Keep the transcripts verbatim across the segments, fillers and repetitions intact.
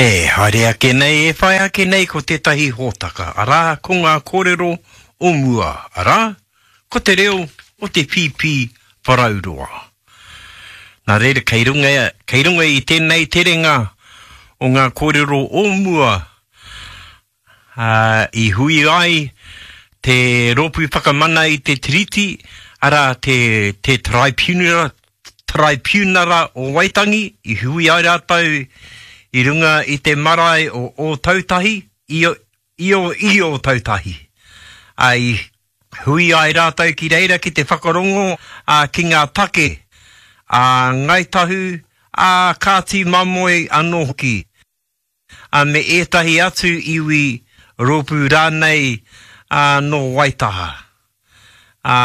E haere ake nei, e whai ake nei ko tētahi hōtaka, arā, ko ngā kōrero o mua, arā, ko te reo o te pīpī wharauroa. Nā reira, kei runga, kei runga i tēnei terenga o ngā kōrero o mua, ā, i hui ai te Rōpū Whakamana i te Tiriti, arā, te, te Taraipiunara, Taraipiunara o Waitangi, i hui ai rātou i runga i te marae o Ōtautahi, i, i, o, i Ōtautahi. Ā, i hui ai rātou ki reira ki te whakarongo ā, ki ngā take a Ngāi Tahu, a Kāti Mamoe anō hoki, ā, me ētahi atu iwi rōpū rānei ā, nō Waitaha. Ā,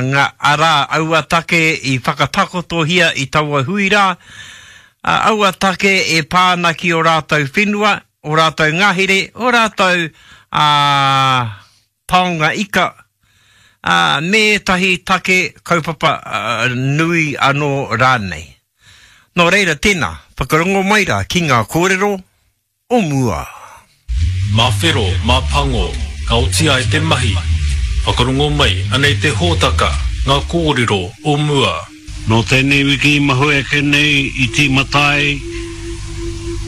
ngā, arā, aua take i whakatakotohia i taua hui rā, ā, aua take e pā ana ki ō rātou whenua, ō rātou ngahere, ō rātou ā, taonga ika, ā, me ētahi take kaupapa ā, nui anō rānei. Nō reira, tēnā, whakarongo mai rā ki ngā kōrero o mua. Mā whero, mā pango, ka oti ai te mahi. Whakarongo mai, anei te hōtaka, ngā kōrero o mua. Nō tēnei wiki i mahue ake nei i tīmata ai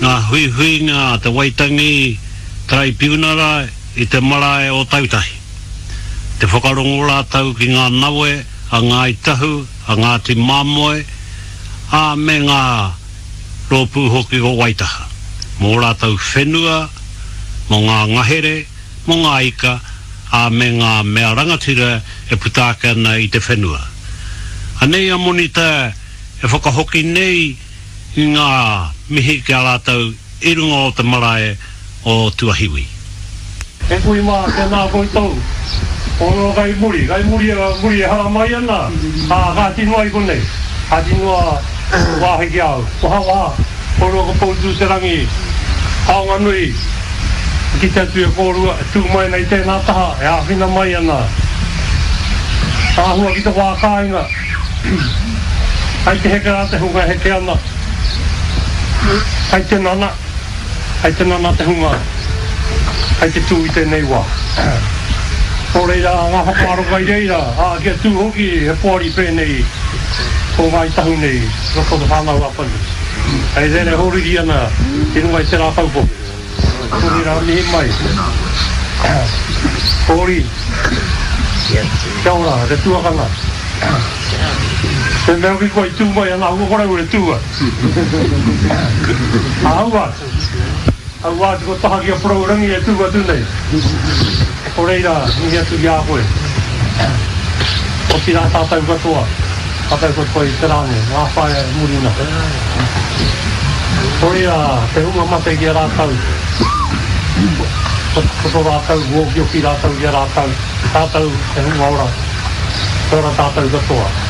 ngā huihuinga a te Waitangi Taraipiunara i te marae o Tautahi. Te whakarongo rātou ki ngā nawe a Ngāi Tahu, a Ngāti Māmoe, ā, me ngā rōpū hoki o Waitaha, mō rātou whenua, mō ngā ngahere, mō ngā ika, ā, me ngā mea rangatira e puta ake ana i te whenua. Anei a Monita e whakahoki nei i ngā mihi ki a rātou i runga o te marae o Tuahiwi. E kui mā, tēnā koutou. Kōrero kai muri, kai muri, muri e haramai ana, ā, kāti noa i konei, kāti noa wāhi ki a au. Wahawaha, kōrua ko Poutū-te-rangi, taonga nui, i kite atu e kōrua e tū mai ana i tēnā taha, e āwhina mai ana. Āhua ki te wā kāinga, kai te heke rā te hunga e heke ana, kai te nana. Hei te nana te hunga hei te tū i tēnei wā. Nō reira, ngā whakaaro kai reira, ā, kia tū hoki he poari pēnei ko Ngāi Tahu nei i roto o Te Whānau-a-Apanui. Hei reira e hōriri ana i runga i te rākau poke. Nō reira, mihi mai. Hōri. Kia ora, te tuakana. Te mea hoki kua i tū mai ana aua kore e tū ai. Aua atu. Aua atu ko taha ki a Porourangi e tū atu nei. Ko reira, mihi atu ki a koe. Otirā tātou katoa, tātou katoa i te rā nei, ngā whaea e muri nei. Ko reira, te hunga mate ki a rātou, ko tō rātou, okioki rātou ki a rātou, tātou te hunga ora, kia ora tātou katoa.